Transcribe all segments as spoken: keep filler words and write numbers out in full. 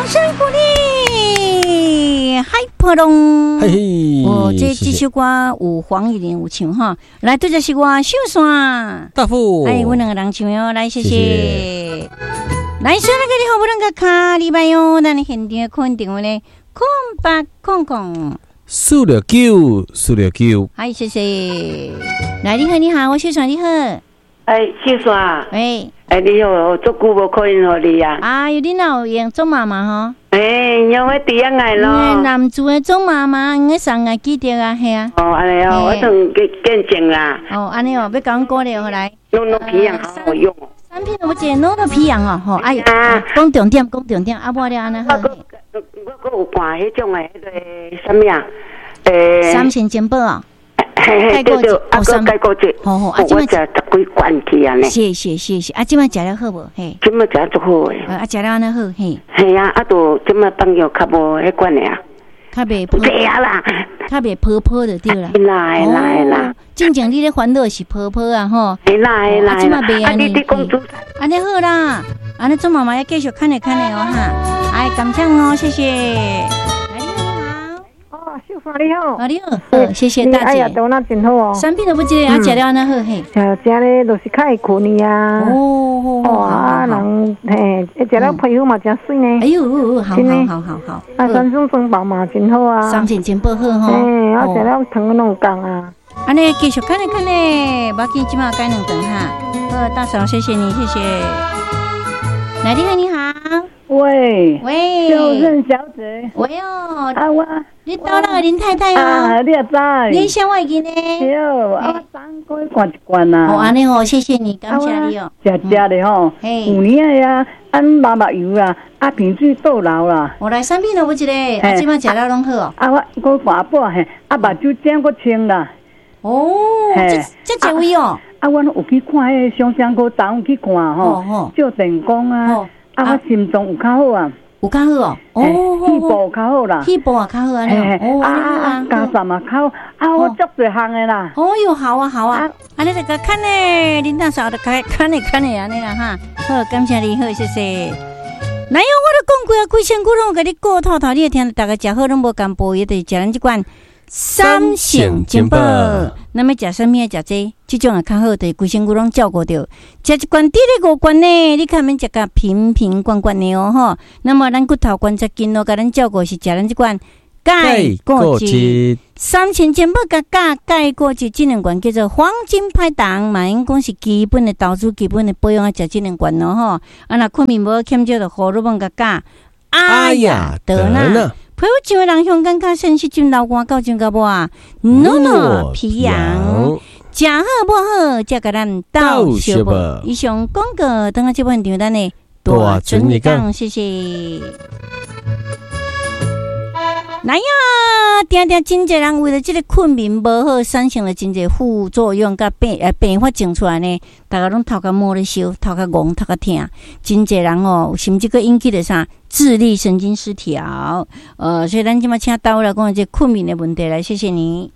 掌聲鼓勵，海波浪。嘿嘿，哦，這謝謝這首歌有黃乙玲有唱哈，來，對這是我秀山。大富，哎，阮兩個人唱喲，來，謝謝。謝謝。來，說那個你好，不能個卡禮拜喲，咱的現場肯定話呢，空八空空，四六九四六九，哎，謝謝。來，你好，你好，我秀山，你好。哎，秀山，喂，哎，你好，足久無可能予你啊！哎喲，你哪有閒做媽媽吼？哎，因為佇遐愛咯。南珠的做媽媽，應該上愛記得啊，係啊。哦，按呢哦，我當見見證啦。哦，按呢哦，欲共阮鼓勵予來。諾諾皮樣好好用。產品有一個諾諾皮樣哦，吼，哎，講重點，講重點，啊，無了按呢好。我閣有看彼種的彼個啥物啊？欸，三星珍寶哦。嘿嘿，對對，啊，閣鈣骨質，好好，啊，這我食十幾罐去啊呢。是是是是，啊，這擺食了好無？嘿，這擺食足好的。啊，食了按呢好，嘿。嘿啊，啊，就這擺放藥較無彼款的啊。較袂泡。對啊啦，較袂泡泡就對啦。會啦會啦會啦。進前你咧煩惱是泡泡啊吼。會啦會啦。啊，這擺袂按呢。啊，你佇講煮。按呢好啦，按呢做媽媽要繼續看咧看咧哦哈。哎，感謝哦，謝謝。秀芳你好，啊你好，好，謝謝大姐。哎呀，都那真好哦。產品都不記得，啊，食了按呢好嘿。食食咧就是較會睏啊。哦哦啊，人嘿，食了皮膚嘛真媠呢。哎喲，好好好好好。啊，三星珍寶嘛真好啊。三星珍寶好吼。嘿，啊，食了糖攏有降啊。按呢繼續看咧看咧，無要緊，這擺改兩頓哈。好，大嫂，謝謝你，謝謝。來，你好，你好。喂喂，秀勝小姐。喂哦，啊我，你到那個林太太哦。啊，你也知。你啥我會記呢？對，啊我昨昏過去灌一罐啊。哦，按呢哦，謝謝你，感謝你哦。食食咧吼，有年的啊，按麻麻油啊，啊皮水倒流啦。我來產品都有一個，啊這擺食了攏好哦。啊我閣灌半嘿，啊目睭睛閣清啦。哦，這這這位哦。啊，阮有去看彼個雙雙科，昨昏去看吼，照電光啊。啊，我心臟有較好啊，有較好哦，哦，肺部有較好啦，肺部也較好啊，哦，啊啊，加上嘛較好，啊，我足濟項的啦。哦喲，好啊好啊，按呢就共看呢，恁大嫂就看看呢看呢按呢啦哈，好，感謝你，好，謝謝。來喲，我都講過啊，規身軀攏有共你顧透透，你會聽著逐家食好攏無共補，伊就是食咱這款三星珍寶。那麼食啥物？食這，這種也較好，就是規身軀攏照顧著。食一罐，佇咧五罐呢，你較免食甲瓶瓶罐罐的哦吼。那麼咱骨頭關節筋絡共咱照顧是食咱這款鈣骨質。三星珍寶佮鈣鈣骨質這兩罐叫做黃金拍檔，嘛應講是基本的投資、基本的保養愛食這兩罐咯吼。啊，若睏眠無好，欠少就荷爾蒙佮鈣阿雅德娜。皮膚上的人香感覺腎濕浸流汗到上到尾，諾諾皮陽，食好無好，才共咱鬥相報。以上廣告，等下這本場咱的大準你講，謝謝。來呀，定定真濟人為著這个睏眠無好，產生了真濟副作用，佮病呃病發症出來呢。逐家攏頭殼毛咧燒，頭殼戇，頭殼疼，真濟人哦，甚至閣引起著啥自律神經失調。呃，所以咱這擺請大衛來講這睏眠的問題來，謝謝你。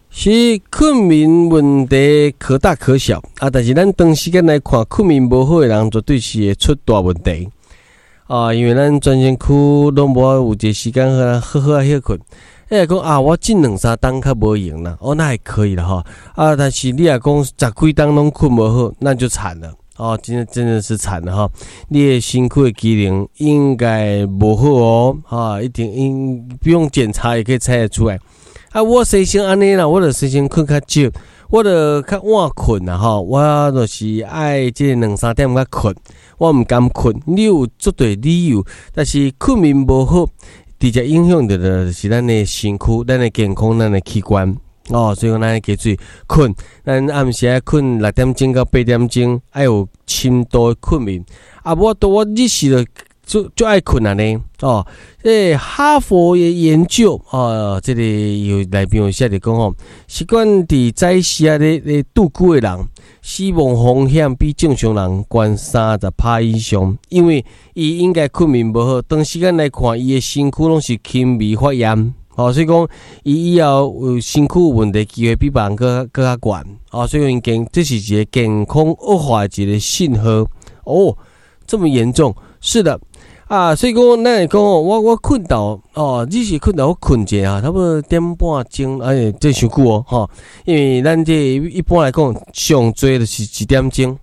是睏眠問題可大可小啊，但是咱長時間來看，睏眠無好的人絕對是會出大問題。啊，因為咱全身軀攏無有一個時間好好好啊歇睏。欸，講啊，我這兩三冬較無閒啦，哦，那還可以啦吼。啊，但是你若講十幾冬攏睏無好，那就慘了。哦，真的真的是慘了吼。你的身軀的機能應該無好哦，哈，一定應不用檢查也可以猜得出來。啊，我生性按呢啦，我就生性睏較少，我就較晚睏啦吼，我就是愛這兩三點才睏，我毋甘睏。你有足濟理由，但是睏眠無好，直接影響著就是咱的身軀、咱的健康、咱的器官哦。所以講，咱愛加注意睏，咱暗時愛睏六點鐘到八點鐘，愛有深度的睏眠。啊，無法度我日時就就就愛睏按呢哦。這哈佛的研究哦，這个有內邊有寫著講吼，習慣佇早時啊咧咧度久的人，死亡風險比正常人懸三十趴以上，因為伊應該睏眠無好，長時間來看，伊的身軀攏是輕微發炎，哦，所以講伊以後有身軀有問題機會比別人閣閣較懸，哦，所以講健這是一個健康惡化的一個信號，哦，這麼嚴重，是的。啊，所以講，咱會講哦，我我睏到哦，你是睏到我睏一下，差不多點半鐘，哎，這傷久哦，吼，因為咱這一般來講，上濟就是一點鐘，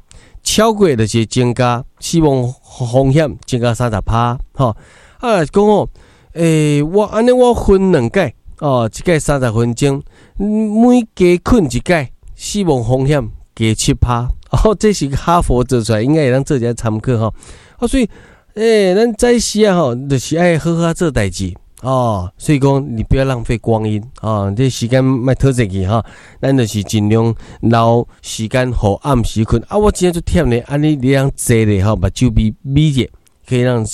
超過就是增加死亡風險，增加三十趴，吼。啊，講哦，欸，我按呢我分兩擺，哦，一擺三十分鐘，每加睏一擺，死亡風險加七趴，哦，這是哈佛做出來，應該會當做一下參考吼。啊，所以。欸，咱早時啊吼，就是愛好好做代誌哦。所以講，你不要浪費光陰哦，這時間莫拖濟去吼。咱就是盡量留時間予暗時睏。啊，我真正足忝咧，按呢你通坐咧吼，目睭眯眯著，可以讓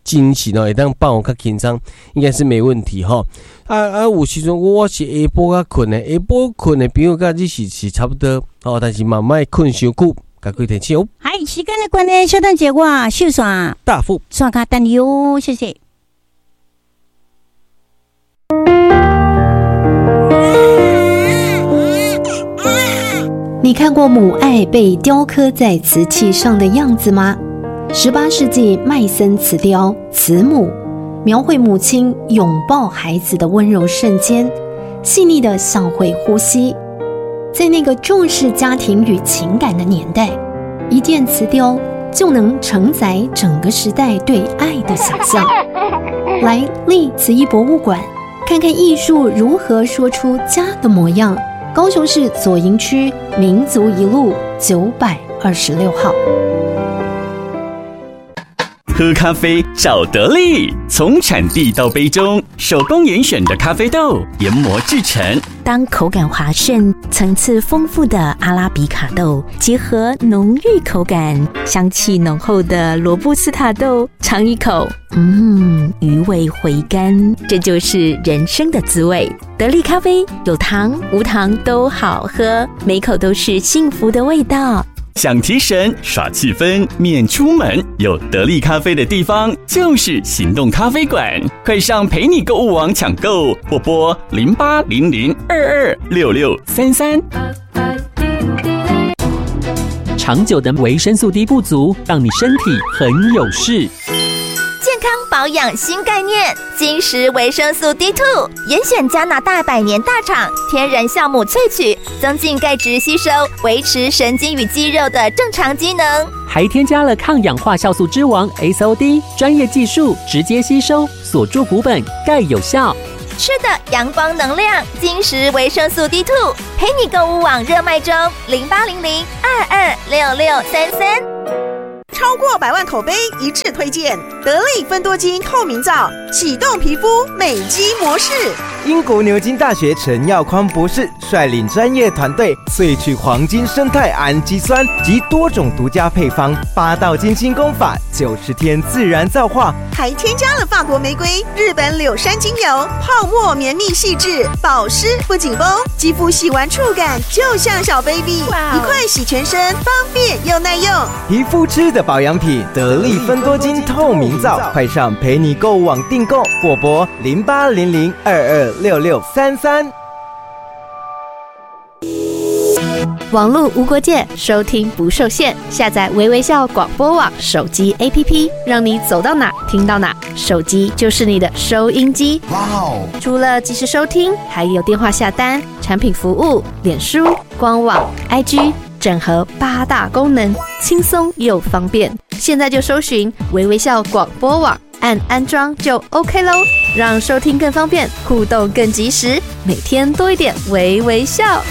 精神哦，會當放予較輕鬆，應該是沒問題吼。啊啊，有時陣我是下晡較睏的，下晡睏的朋友佮你是是差不多哦，但是嘛莫睏傷久。共開提醒哦。嗨，時間的關係，稍等一下，我秀線大富線卡等你哦，謝謝。你看過母愛被雕刻在瓷器上的樣子嗎？十八世紀麥森瓷雕《慈母》，描繪母親擁抱孩子的溫柔瞬間，細膩的像會呼吸。在那個重視家庭與情感的年代，一件瓷雕就能承載整個時代對愛的想象。來立瓷藝博物館，看看藝術如何說出家的模樣。高雄市左營區民族一路九百二十六號。喝咖啡找得力，從產地到杯中，手工嚴選的咖啡豆研磨製成。當口感滑順、層次豐富的阿拉比卡豆結合濃郁口感、香氣濃厚的羅布斯塔豆，嘗一口，嗯，餘味回甘，這就是人生的滋味。得力咖啡有糖無糖都好喝，每口都是幸福的味道。想提神、耍氣氛、免出門，有得力咖啡的地方就是行動咖啡館。快上陪你購物網搶購，或撥零八零零二二六六三三。長久的維生素 D 不足，讓你身體很有事。健康保養新概念，金石維生素 D 二，嚴選加拿大百年大廠天然酵母萃取，增進鈣質吸收，維持神經與肌肉的正常機能。還添加了抗氧化酵素之王 S O D，專業技術直接吸收，鎖住骨本，鈣有效。吃的陽光能量，金石維生素 D 二，陪你購物網熱賣中，零八零零二二六六三三。超過百萬口碑一致推薦，得力芬多精透明皂，啟動皮膚美肌模式。英國牛津大學陳耀寬博士率領專業團隊萃取黃金生態氨基酸及多種獨家配方，八道精心工法，九十天自然皂化，還添加了法國玫瑰、日本柳杉精油，泡沫綿密細緻，保濕不緊繃，肌膚洗完觸感就像小 baby， 一塊洗全身，方便又耐用。皮膚吃的保養品，得力芬多精透明皂，快上陪你購物網訂購，或撥零八零零二二六六三三。網路無國界，收聽不受限。下載微微笑廣播網手機 A P P，讓你走到哪聽到哪。手機就是你的收音機。哇哦！除了即時收聽，還有電話下單、產品服務、臉書、官網、I G，整合八大功能，輕鬆又方便。現在就搜尋微微笑廣播網，按安裝就 OK 囉，讓收聽更方便，互動更及時，每天多一點微微笑。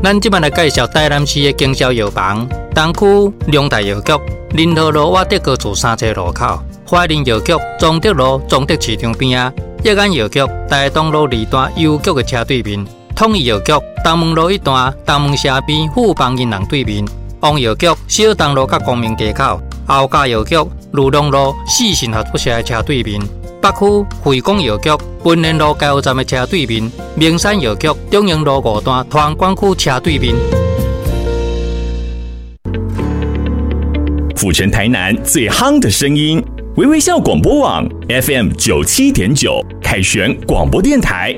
咱這擺來介紹台南市的經銷藥房，東區龍大藥局、仁和路瓦德高厝三層路口，懷仁藥局中德路中德市場邊仔，益安藥局台東路二段郵局的車對面，統一藥局東門路一段東門社邊富邦銀行對面，王藥局小東路佮光明街口，后家藥局裕隆路四信合作社的車對面，北區惠廣藥局文林路加油站的車對面，明山藥局中營路五段团管区車對面。府城台南最夯的聲音，微微笑廣播網 F M 九七點九，凱旋廣播電台。